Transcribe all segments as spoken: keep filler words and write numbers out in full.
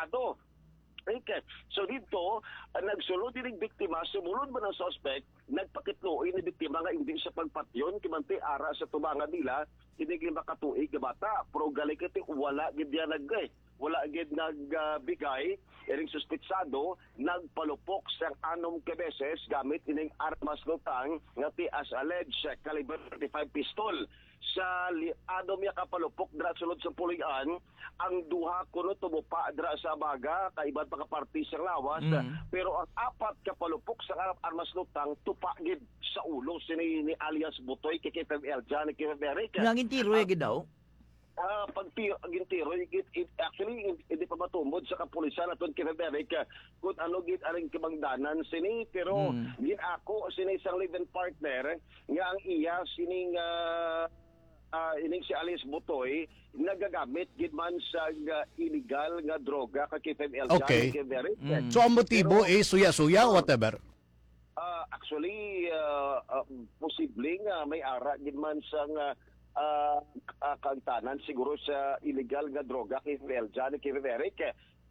Ado. Okay. So dito, ah, nagsulod ining biktima, sumulod man ang suspect, nagpakitluoy ni biktima nga hindi siya pagpatyon, kay bangod ara sa tubangan nila, ining lima ka tuig nga bata. Pero gali kiti, wala gid niya nag-, eh, wala gid nag, ah, bigay. Ining suspetsado nagpalupok sang anom ka beses gamit ining armas lutang nga ti as alleged caliber thirty-five pistol. Sa li-, anom niya ka palupok dira sulod sa puloy-an, ang duha kuno tumupa dira sa baga, kay iban pa ka parte sang lawas, Mm. pero ang apat ka palupok sa ar-, armas lutang tupa gid sa ulo sini ni alias Butoy kay K five Eljan, kay K five Eric. Nga gintiro Ang gid daw. Ah, pagti-, gintiro, it, it, actually, hindi pa matumod sa kapulisan aton kay Eric, ah, kung ano gid ang kabangdanan sini, pero Hmm. gin-ako sini sang live-in partner nga ang iya sining, ah, ah, ining si alias Butoy nagagamit gid man sa, ah, illegal nga droga kay K five Eljan, Okay. kay Eric. Mm. So, ang motibo Pero is suya-suya o whatever? Ah, actually, ah, ah, posible nga may ara gid man sang, ah, ah, ah, kaangtanan siguro sa illegal nga droga kay Eljan, kay Eric.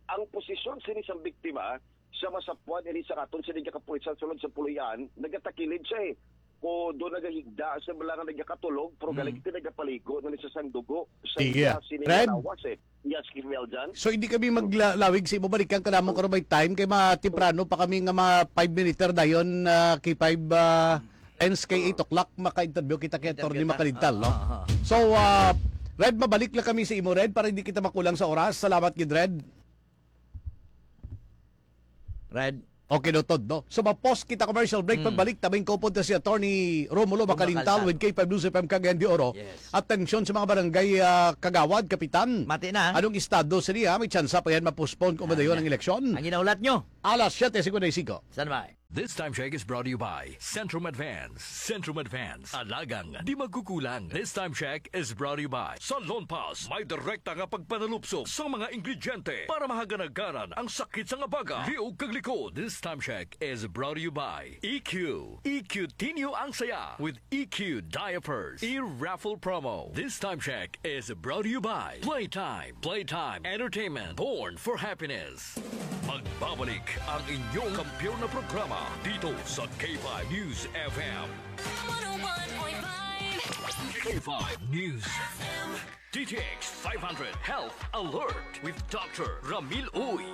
Ang posisyon sini sang biktima sa masapwan ini sa aton sini nga kapulisan sulod sa puloy-an, nagatakilid siya, eh. Ko do nagahigda sa bala nga nagakatulog, pero Mm. galing ito nagapaligo na ni sa sang dugo sa Iya. iya sini Red? nga lawas, eh. Yes, Kim Eljan. So, hindi kami maglawig sa imo. Balikan ka namon karon may time. Kay matemprano pa kami nga mga five minute dayon, ah, kay five, ah, ends kay eight o'clock, maka-interview kita kay Attorney Interview ta. Makalintal, no? Ah, ah, ah. So, ah, Red, mabalik lang kami sa imo, Red, para hindi kita makulang sa oras. Salamat gid, Red. Red. Okay, noted, no? So, ma-pause kita commercial break. Mm. Pagbalik, tabing ko po si Attorney Romulo Romulo Makalintal Makalintal. with K five News F M Cagayan de Oro. Yes. Atensyon sa mga barangay, ah, kagawad, kapitan. Mati na. Anong estado sila? May tsansa pa yan ma-postpone kung Ah, madayon yeah. ang eleksyon. Ang ginaulat nyo. Alas siyete cincuenta y cinco. Standby. This time check is brought to you by Centrum Advance. Centrum Advance. Alagang di magkukulang. This time check is brought to you by Salon Pass. May direkta nga pagpanalupso sa mga ingrediente para mahaganagaran ang sakit sa nga baga, liog kag likod. This time check is brought to you by E Q. E Q Tinyo ang saya with E Q diapers. E-raffle promo. This time check is brought to you by Playtime. Playtime Entertainment. Born for happiness. Magbabalik ang inyong kampiyon na programa dito sa K five News F M. One oh one point five. K five News F M. D T X five hundred Health Alert with Doctor Ramil Uy.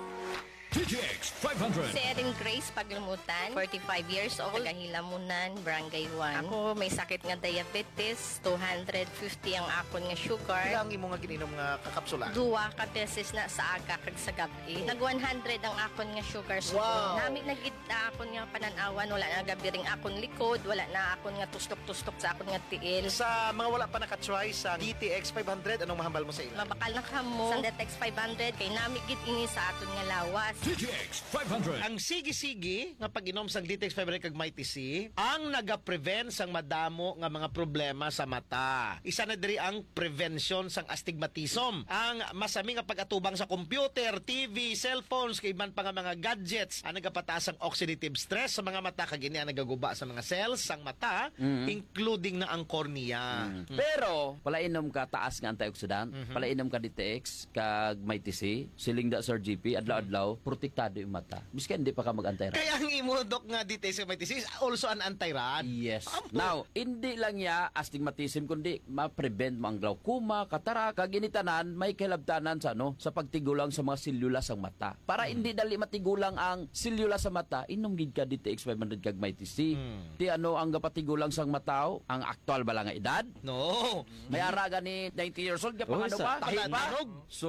D T X five hundred. Si Erin Grace Paglumutan, forty-five years old, taga Hilamunan, Barangay one. Ako may sakit nga diabetes, two hundred fifty ang akon nga sugar. Pila ang imo nga gininom nga kakapsula? Duha ka beses na sa aga kag sa gab-i. Nag one hundred ang akon nga sugar subong. Wow! Nami na gid na akon nga panan-awan, wala na gabiring akon likod, wala na akon nga tustok-tustok sa akon nga tiil. Sa mga wala pa naka-try sa D T X five hundred, anong mahambal mo sa ila? Mabakal na kamo sa D T X five hundred, kay nami gid ini sa aton nga lawas. D T X five hundred. Ang sige-sige nga pag-inom sang D T X five hundred kag Mighty C ang nagaprevent sang madamo nga mga problema sa mata. Isa na diri ang prevention sang astigmatism. Ang masami nga pag-atubang sa computer, T V, cellphones, kay iban pa nga mga gadgets ang nagapataas sang oxidative stress sa mga mata, kag ini ang nagaguba sa mga cells sang mata, Mm. including na ang cornea. Mm. Mm. Pero, palainom ka taas nga antioxidant, Mhm. palainom ka D T X, kag Mighty C, siling da Sir G P, adlaw-adlaw, protektado yung mata. Miski hindi pa ka mag-antay ra. Kaya ang imo, Doc, nga D T X sa Mighty C is also an anti-ran. Yes. Ampo. Now, hindi lang niya astigmatism, kundi ma-prevent mo ang glaucoma, cataract, kag ini tanan may kahilabtanan sa, ano, sa pagtigulang sa mga selula sang mata. Para Hmm. hindi dali matigulang ang selula sa mata, inom gid ka D T X five hundred kag Mighty C. Hmm. Ti ano ang gapatigulang sang mata, oh? Ang aktual ba lang nga edad? No. May ara gani ninety years old, Oh, gapangano sa pa? Tahi pa? Tandaan, So,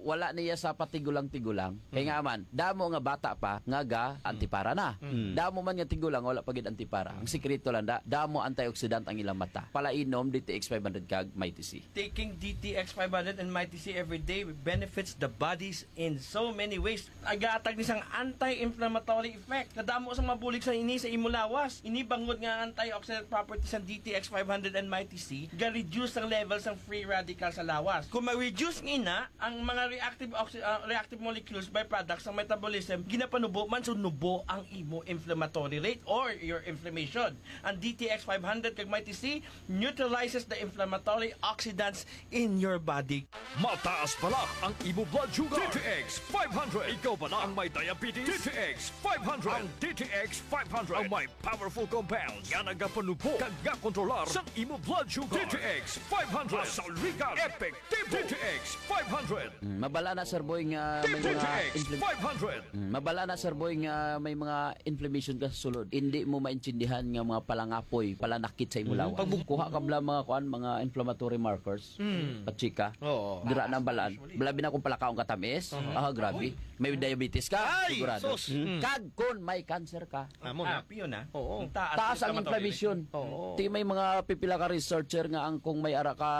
wala niya sa patigulang-tigulang. Kay Mm. nga man, damo nga bata pa nga ga Mm. antipara na. Mm. Damo man nga tigulang, wala pa gid antipara. Ang Mm. sikreto lang da, damo antioxidant ang ilang mata. Palainom D T X five hundred kag Mighty C. Taking D T X five hundred and Mighty C every day benefits the bodies in so many ways. Nagahatag ni sang anti-inflammatory effect. Kadamo sang mabulig sa ini sa imo lawas. Ini bangod nga antioxidant properties sang D T X five hundred and Mighty C, ga-reduce ang level sang free radical sa lawas. Kung ma-reduce nga ina, ang mga reactive oxi-, ah, reactive molecules, byproducts sa metabolism, ginapanubo man sa nubo ang imo inflammatory rate or your inflammation. Ang D T X five hundred kag Mighty C neutralizes the inflammatory oxidants in your body. Mataas bala ang imo blood sugar. D T X five hundred. Ikaw bala ang may diabetes. D T X five hundred. Ang D T X five hundred ang may powerful compounds nga nagapanubo kag nga kontrolar sa imo blood sugar. D T X five hundred. Masaligan. Epektibo. D T X five hundred. Mm, mabala na, Sir Boy, nga may mga D T X infl- five hundred. Mm, mabala na, Sir Boy, nga may mga inflammation ka sa sulod. Hindi mo maintindihan nga mga palangapoy, palanakit sa imo lawas. Pag kuha ka bala mga kuan, mga inflammatory markers, pachika. Oo. Dira na ang balaan. Bala bina kung palakaon ka tamis. Ah, grabe. May diabetes ka, Ay, sigurado. Sus. Mm. Kag kon may cancer ka, Amo Ah, na. piyo na. Oo. Ang taas taas ang inflammatory. Inflammation. Oo. Ti may mga pipila ka researcher nga ang kung may ara ka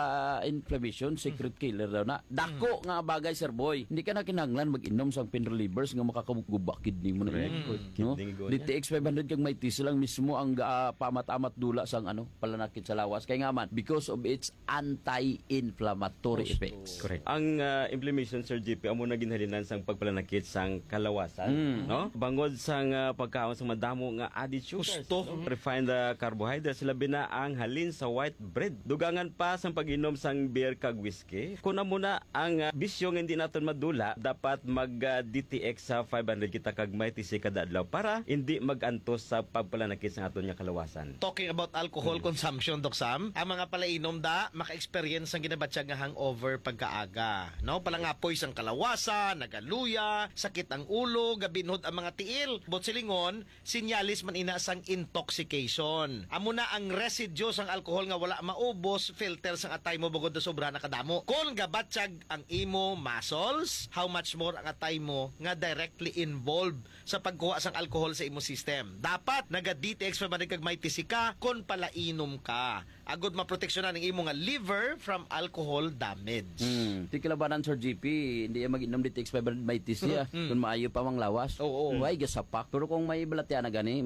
inflammation, secret killer daw na. Dako nga bagay, Sir Boy. Hindi ka na kinahanglan mag-inom sang pain relievers nga makakaguba kidney mo na. Correct. Init. Kidney No? go D T X five hundred kag Mighty C lang mismo ang ah, paamat-amat dula sang ano, palanakit sa lawas. Kay nga man, because of its anti-inflammatory effects. Correct. Ang ah, inflammation, Sir G P, amo na ginhalinan sang pagpalanakit sang kalawasan, no? Bangod sang ah, pagkaon sang madamo nga added sugars, Gusto. no? Refined ah, carbohydrates, labi na ang halin sa white bread. Dugangan pa sang pag-inom sang beer kag whiskey. Kung amo na ang ah, bisyo nga hindi naton madula, dapat mag ah, D T X sa five hundred kita kag Mighty C kada adlaw para hindi mag-antos sa pagpalanakit sang aton nga kalawasan. Talking about alcohol consumption, Doc Sam, ang mga palainom da maka-experience sang ginabatyag nga hangover pagkaaga, no? Palangapoy sang kalawasan, nagaluya, sakit ang ulo, gabinhod ang mga tiil. But silingon, sinyalis man ina sang intoxication. Amo na ang residue sang alcohol nga wala maubos, filter sang atay mo bugod na sobra na kadamo. Kon gabatyag ang imo muscles, how much more ang atay mo nga directly involved sa pagkuha sang alcohol sa imo system. Dapat naga D T X five hundred kag Mighty C ka kon palainom ka. Agod maproteksyonan ang imo nga liver from alcohol damage. Hmm. Di kalabanan, Sir G P, hindi yan mag-inom D T X five hundred Mighty C, ah. Kung maayo pa mang lawas. Oo. Why, gasapak. Pero kung may balatian na gani,